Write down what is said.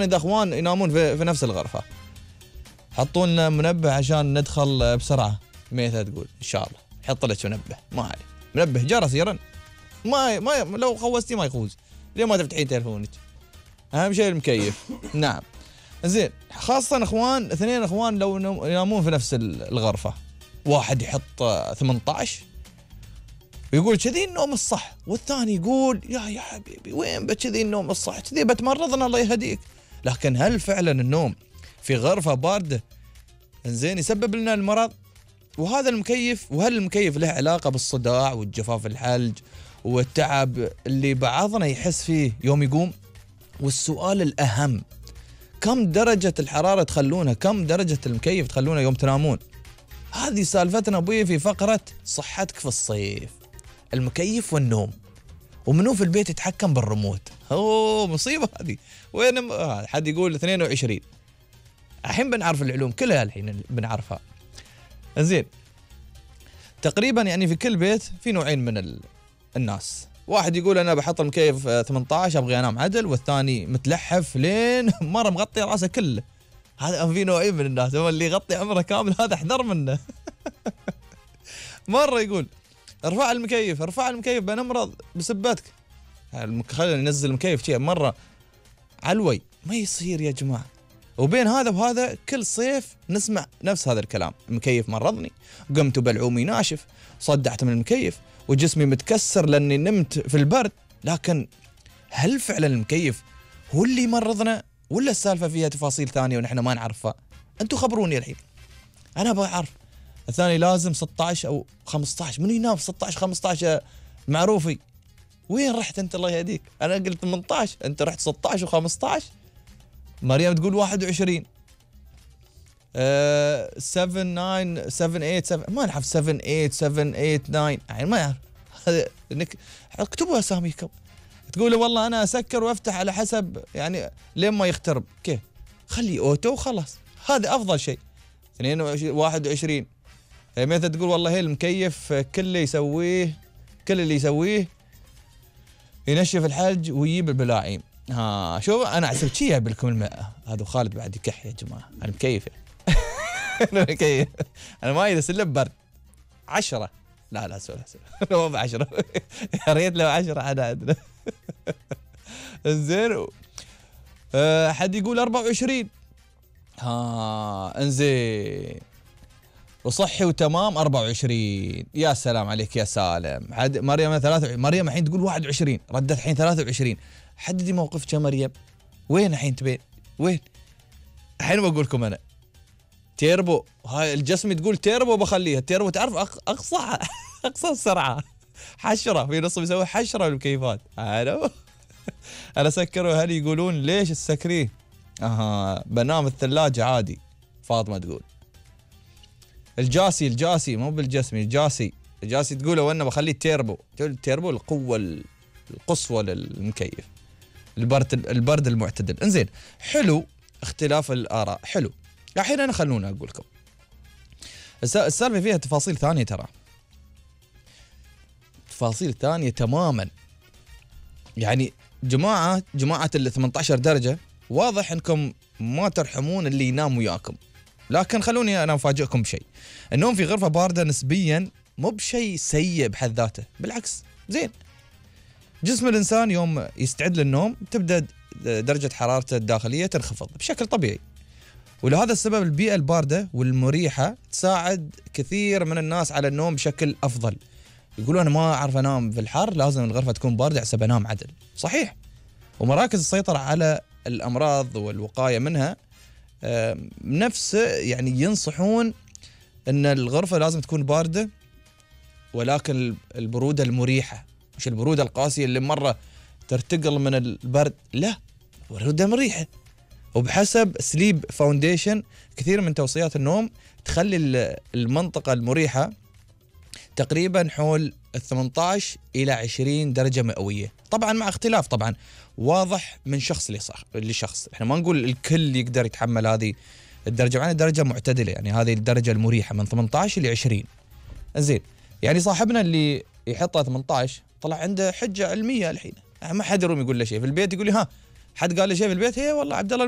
إذا أخوان ينامون في نفس الغرفة، حطوا لنا منبه عشان ندخل بسرعة. ميثا تقول إن شاء الله حط لك منبه، ما عليه، منبه جرس يرن، ما لو خوستي ما يخوز، ليه ما تفتحين تلفونك؟ أهم شيء المكيف. نعم زين، خاصة اخوان اثنين اخوان لو ينامون في نفس الغرفة، واحد يحط 18 ويقول كذي النوم الصح، والثاني يقول يا حبيبي وين بكذي النوم الصح، كذي بتمرضنا الله يهديك. لكن هل فعلا النوم في غرفة باردة زين يسبب لنا المرض؟ وهذا المكيف، وهل المكيف له علاقة بالصداع والجفاف الحلج والتعب اللي بعضنا يحس فيه يوم يقوم؟ والسؤال الأهم، كم درجة الحرارة تخلونها، كم درجة المكيف تخلونها يوم تنامون؟ هذه سالفتنا ابوي في فقرة صحتك في الصيف، المكيف والنوم. ومنو في البيت يتحكم بالريموت؟ اوه مصيبة هذه. وين حد يقول 22؟ الحين بنعرف العلوم كلها، الحين بنعرفها. زين، تقريبا يعني في كل بيت في نوعين من الناس، واحد يقول انا بحط المكيف 18 ابغي انام عدل، والثاني متلحف لين مره مغطي راسه كله. هذا في نوعين من الناس، هو اللي يغطي عمره كامل هذا احذر منه. مره يقول ارفع المكيف بنمرض بسبتك، خلينا ننزل المكيف شيء مره علوي، ما يصير يا جماعه. وبين هذا وهذا كل صيف نسمع نفس هذا الكلام، المكيف مرضني، قمت بلعومي ناشف، صدعت من المكيف، وجسمي متكسر لاني نمت في البرد. لكن هل فعلا المكيف هو اللي يمرضنا، ولا السالفه فيها تفاصيل ثانيه ونحن ما نعرفها؟ انتم خبروني الحين، انا ابغى اعرف. الثاني لازم 16 او 15، من ينام 16 15 معروفي؟ وين رحت انت الله يهديك؟ انا قلت 18، انت رحت 16 و15. مريم تقول 21. 7 9 7 8 7، ما نعرف 7 8 7 8 9 يعني ما يعرف. انك اكتبوا اساميكم. تقول والله انا اسكر وافتح على حسب يعني لين ما يخترب. كيف؟ خلي اوتو وخلاص، هذا افضل شيء. 22 21. متى تقول والله هي المكيف كل اللي يسويه ينشف الحلج ويجيب البلاعيم. شوف انا حسبت شي جايب لكم الماء هذا، وخالد بعد يكح يا جماعه. انا مكيف انا مكيف، انا ما اذا سلم برد 10. لا سوري مو ب 10. يا ريت لو 10 عدد. انزين. حد يقول 24. انزين، وصحي وتمام 24. يا سلام عليك يا سالم. حد مريم 23. مريم الحين تقول 21، ردت الحين 23. حددي موقفك يا مريم، وين الحين تبين؟ وين؟ الحين بقول لكم انا تيربو، هاي الجسم تقول تيربو بخليها. تيربو تعرف اقصى السرعه، حشره في نص بيسوي حشره بالمكيفات. انا سكروا اهلي يقولون ليش تسكريه؟ بنام الثلاجه عادي. فاطمه تقول الجاسي مو بالجسمي، الجاسي تقول وانا بخليه تيربو. التيربو القوه القصوى للمكيف، البرد المعتدل. انزين، حلو اختلاف الاراء، حلو. الحين انا خلونا اقول لكم السالفه فيها تفاصيل ثانيه، ترى تفاصيل ثانيه تماما. يعني جماعه ال 18 درجه واضح انكم ما ترحمون اللي ينام وياكم. لكن خلوني انا افاجئكم بشيء، النوم في غرفه بارده نسبيا مو بشيء سيء بحد ذاته، بالعكس زين. جسم الانسان يوم يستعد للنوم تبدا درجه حرارته الداخليه تنخفض بشكل طبيعي، ولهذا السبب البيئه البارده والمريحه تساعد كثير من الناس على النوم بشكل افضل. يقولون انا ما اعرف انام في الحر، لازم الغرفه تكون بارده حسب انام عدل. صحيح. ومراكز السيطره على الامراض والوقايه منها نفس يعني ينصحون ان الغرفه لازم تكون بارده، ولكن البروده المريحه، مش البروده القاسيه اللي مره ترتقل من البرد، لا، بروده مريحه. وبحسب سليب فاونديشن كثير من توصيات النوم تخلي المنطقه المريحه تقريبا حول 18 الى 20 درجه مئويه، طبعا مع اختلاف طبعا واضح من شخص لشخص. احنا ما نقول الكل يقدر يتحمل هذه الدرجه، معنا درجه معتدله، يعني هذه الدرجه المريحه من 18 ل 20. زين، يعني صاحبنا اللي يحطها 18 طلع عنده حجه علميه الحين، ما حد يروم يقول له شيء في البيت. يقول لي حد قال لي شيء في البيت؟ هي والله عبد الله